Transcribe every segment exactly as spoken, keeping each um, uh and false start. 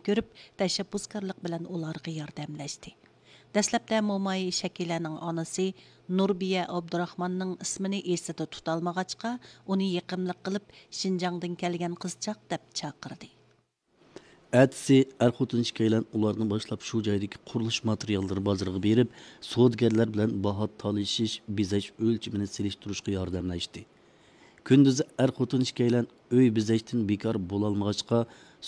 كۆرۈپ، تەشەببۇسكارلىق بىلەن ئۇلارغا ياردەملەشتى. دەسلەپتە موماي شەكىلەنىڭ ئانىسى نۇربىيە ئابدۇراخماننىڭ ئىسمىنى ئېسىدە تۇتالمىغاچقا، ئۇنى يېقىملىق قىلىپ، شىنجاڭدىن كەلگەن قىزچاق دەپ چاقىردى. ئەتىسى ئەر-خوتۇن ئىككىيلەن ئۇلارنى باشلاپ شۇ جايدىكى قۇرۇلۇش ماتېرىياللىرى بازىرىغا بېرىپ، سودىگەرلەر بىلەن باھا تالىشىش، بېزەش ئۆلچىمىنى سېلىشتۇرۇشقا ياردەملەشتى. كۈندۈزى ئەر-خوتۇن ئىككىيلەن ئۆي بېزەشتىن بىكار بولالمىغاچقا،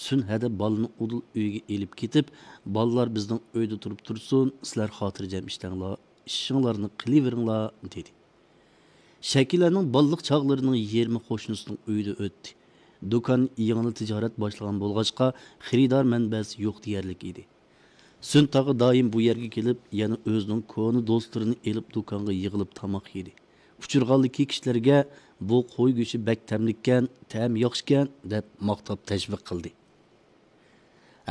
سۈنئەدە بالىنى ئۇدۇل ئۆيگە ئېلىپ كېتىپ، «بالىلار بىزنىڭ ئۆيدە تۇرۇپ تۇرسۇن، سىلەر خاتىرجەم ئىشلەڭلار، ئىشىڭلارنى قىلىۋېرىڭلار» دېدى. شەكىلەنىڭ بالىلىق چاغلىرىنىڭ يېرىمى قوشنىسىنىڭ ئۆيىدە ئۆتتى. دۇكان يېڭىلا تىجارەت باشلىغان بولغاچقا، خېرىدار مەنبەسى يوق دېيەرلىك ئىدى. سۈن تاغا دائىم بۇ يەرگە كېلىپ، يەنە ئۆزىنىڭ كونا دوستلىرىنى ئېلىپ دۇكانغا يىغىلىپ تاماق يېدى. ئۇچرىغانلىكى كىشىلەرگە «بۇ قوي گۆشى بەك تەملىككەن، تەمى ياخشىكەن» دەپ ماختاپ تەشۋىق قىلدى.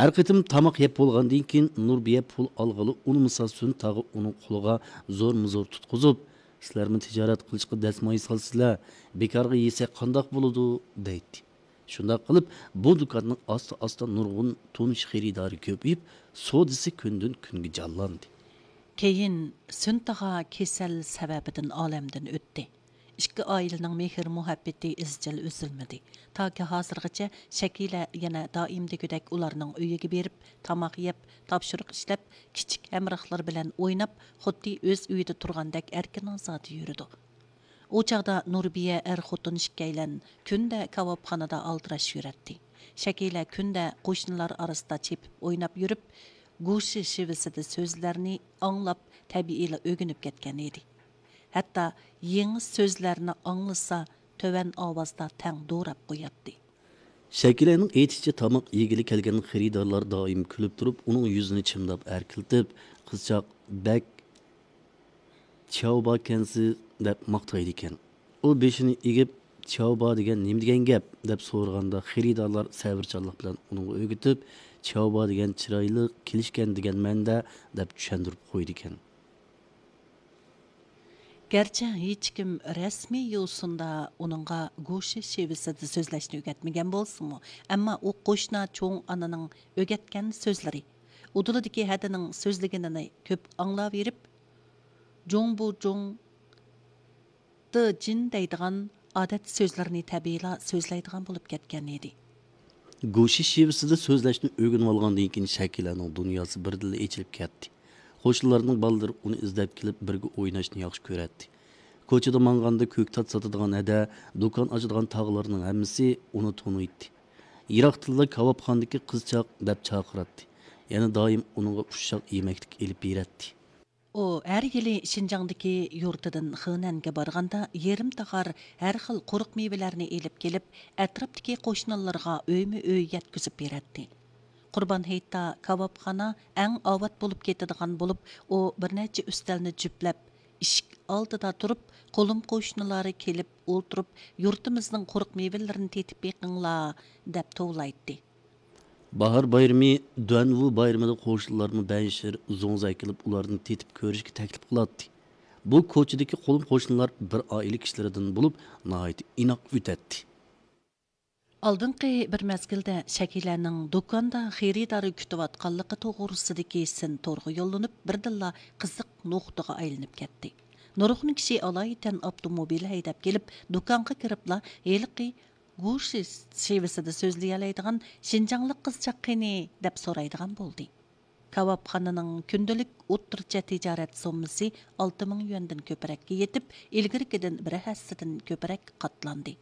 ھەر قېتىم تاماق يەپ بولغاندىن كېيىن، نۇربىيە پۇل ئالغىلى ئۇنىمىسا، سۈن تاغا ئۇنىڭ قولىغا زورمۇ زور تۇتقۇزۇپ، «سىلەرمۇ تىجارەت قىلىشقا دەسمايە سالىسىلەر، بىكارغا يېسەك قانداق بولىدۇ؟» دەيتتى. شۇنداق قىلىپ، بۇ دۇكاننىڭ ئاستا-ئاستا نۇرغۇن تونۇش خېرىدارى كۆپىيىپ، سودىسى كۈندىن-كۈنگە جانلاندى. كېيىن سۈن تاغا كېسەل سەۋەبىدىن ئالەمدىن ئۆتتى. ئىككى ئائىلىنىڭ مېھىر-مۇھەببىتى ئىزچىل ئۈزۈلمىدى. تاكى ھازىرغىچە شەكىلە يەنە دائىم دېگۈدەك ئۇلارنىڭ ئۆيىگە بېرىپ، تاماق يەپ، تاپشۇرۇق ئىشلەپ، كىچىك ھەمراھلىرى بىلەن ئويناپ، خۇددى ئۆز ئۆيىدە تۇرغاندەك ئەركىن-ئازادە يۈرىدۇ. ئۇ چاغدا نۇربىيە ئەر-خوتۇن ئىككىيلەن كۈندە كاۋاپخانىدا ئالدىراش يۈرەتتى. شەكىلە كۈندە قوشنىلار ئارىسىدا چېپىپ ئويناپ يۈرۈپ، گوشى شېۋىسىدە سۆزلەرنى ئاڭلاپ، تەبىئىيلا ئۆگىنىپ كەتكەن ئىدى. ھەتتا يېڭى سۆزلەرنى ئاڭلىسا، تۆۋەن ئاۋازدا تەڭ دوراپ قوياتتى. شەكىلەنىڭ ئېيتىشىچە، تاماق يېگىلى كەلگەن خېرىدارلار دائىم كۈلۈپ تۇرۇپ، ئۇنىڭ يۈزىنى چىمداپ ئەركىلىتىپ، «قىزچاق بەك چياۋباكەنسىز» دەپ ماختايدىكەن. ئۇ بېشىنى ئېگىپ، «چياۋبا دېگەن نېمە دېگەن گەپ؟» دەپ سورىغاندا، خېرىدارلار سەۋرچانلىق بىلەن ئۇنىڭغا ئۆگىتىپ، «چياۋبا دېگەن چىرايلىق، كېلىشكەن دېگەن مەنىدە» دەپ چۈشەندۈرۈپ قويىدىكەن. گەرچە ھېچكىم رەسمىي يوسۇندا ئۇنىڭغا گوشى شېۋىسىدا سۆزلەشنى ئۆگەتمىگەن بولسىمۇ، ئەمما ئۇ قوشنا چوڭ ئانىنىڭ ئۆگەتكەن سۆزلىرى، ئۇدۇلىدىكى ھەدىنىڭ سۆزلىگىنىنى كۆپ ئاڭلاۋېرىپ، جۇڭبۇجۇڭ، دېجىن دەيدىغان ئادەتتە سۆزلەرنى تەبىئىيلا سۆزلەيدىغان بولۇپ كەتكەن ئىدى. گوشى شېۋىسىدا سۆزلەشنى ئۆگىنىۋالغاندىن كېيىن، شەكىلەنىڭ دۇنياسى بىردىنلا ئېچىلىپ كەتتى. قوشنىلارنىڭ بالىلىرى ئۇنى ئىزدەپ كېلىپ، بىرگە ئويناشنى ياخشى كۆرەتتى. كوچىدا ماڭغاندا كۆكتات ساتىدىغان ھەدە، دۇكان ئاچىدىغان تاغىلارنىڭ ھەممىسى ئۇنى تونۇيتتى. يىراقتىنلا «كاۋاپخانىدىكى قىزچاق» دەپ چاقىراتتى. يەنە دائىم ئۇنىڭغا ئۇششاق يېمەكلىك ئېلىپ بېرەتتى. ئۇ ھەر يىلى شىنجاڭدىكى يۇرتىدىن خېنەنگە بارغاندا، يېرىم تاغار ھەر خىل قۇرۇق مېۋىلەرنى ئېلىپ كېلىپ، ئەتراپتىكى قوشنىلىرىغا ئۆيمۇ ئۆي يەتكۈزۈپ بېرەتتى. قۇربان ھېيتتا كاۋاپخانا ئەڭ ئاۋات بولۇپ كېتىدىغان بولۇپ، ئۇ بىر نەچچە ئۈستەلنى جۈپلەپ، ئىشىك ئالدىدا تۇرۇپ، قولۇم قوشنىلار كېلىپ ئولتۇرۇپ، «يۇرتىمىزنىڭ قۇرۇق مېۋىلىرىنى تېتىپ بېقىڭلار» دەپ توۋلايتتى. باھار بايرىمى، دۇەنۋۇ بايرىمىدا قوشنىلارمۇ بەنشىر، زوڭزا ئەكېلىپ، ئۇلارنى تېتىپ كۆرۈشكە تەكلىپ قىلاتتى. بۇ كوچىدىكى قولۇم قوشنىلار بىر ئائىلە كىشىلىرىدىن بولۇپ، ناھايىتى ئىناق ئۆتەتتى. ئالدىنقى بىر مەزگىلدە شەكىلەنىڭ دۇكاندا خېرىدار كۈتۈۋاتقانلىقى توغرىسىدىكى سىن تورغا يوللىنىپ، بىردىنلا قىزىق نۇقتىغا ئايلىنىپ كەتتى. نۇرغۇن كىشى ئالايىتەن ئاپتوموبىل ھەيدەپ كېلىپ، دۇكانغا كىرىپلا ھېلىقى گۇشى شېۋىسىدا سۆزلىيەلەيدىغان شىنجاڭلىق قىزچاق قېنى؟ دەپ سورايدىغان بولدى. كاۋاپخانىنىڭ كۈندىلىك ئوتتۇرىچە تىجارەت سوممىسى ئالتە مىڭ يۈەندىن كۆپرەككە يېتىپ، ئىلگىرىكىدىن بىر ھەسسىدىن كۆپرەك قاتلاندى.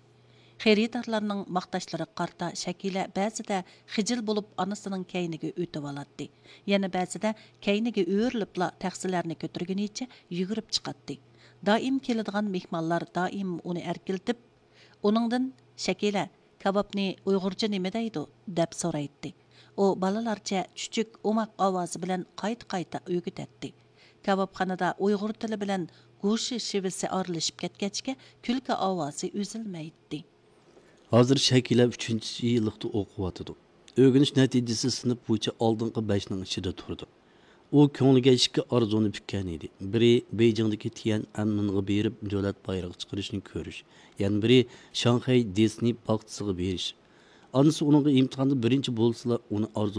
خېرىدارلارنىڭ ماختاشلىرىغا قارىتا شەكىلە بەزىدە خىجىل بولۇپ ئانىسىنىڭ كەينىگە ئۆتۈۋالاتتى. يەنە بەزىدە كەينىگە ئۆرۈلۈپلا تەخسىلەرنى كۆتۈرگىنىچە يۈگۈرۈپ چىقاتتى. دائىم كېلىدىغان مېھمانلار دائىم ئۇنى ئەركىلىتىپ، ئۇنىڭدىن «شەكىلە، كاۋاپنى ئۇيغۇرچە نېمە دەيدۇ؟» دەپ سورايتتى. ئۇ بالىلارچە چۈچۈك، ئوماق ئاۋازى بىلەن قايتا-قايتا ئۆگىتەتتى. كاۋاپخانىدا ئۇيغۇر تىلى بىلەن گۇشى شېۋىسى ئارىلىشىپ كەتكەچكە، كۈلكە ئاۋازى ئۈزۈلمەيتتى. ھازىر شەكىلە ئۈچىنچى يىللىقتا ئوقۇۋاتىدۇ. ئۆگىنىش نەتىجىسى سىنىپ بويىچە ئالدىنقى بەشنىڭ ئىچىدە تۇرىدۇ. ئۇ كۆڭلىگە ئىككى ئارزۇنى پۈككەن ئىدى. بىرى بېيجىڭدىكى تيەنئەنمېنغا بېرىپ دۆلەت بايرىقى چىقىرىشنى كۆرۈش، يەنە بىرى شاڭخەي دىسنېي باغچىسىغا بېرىش. ئانىسى ئۇنىڭغا ئىمتىھاندا بىرىنچى بولسىلا، ئۇنى ئارزۇ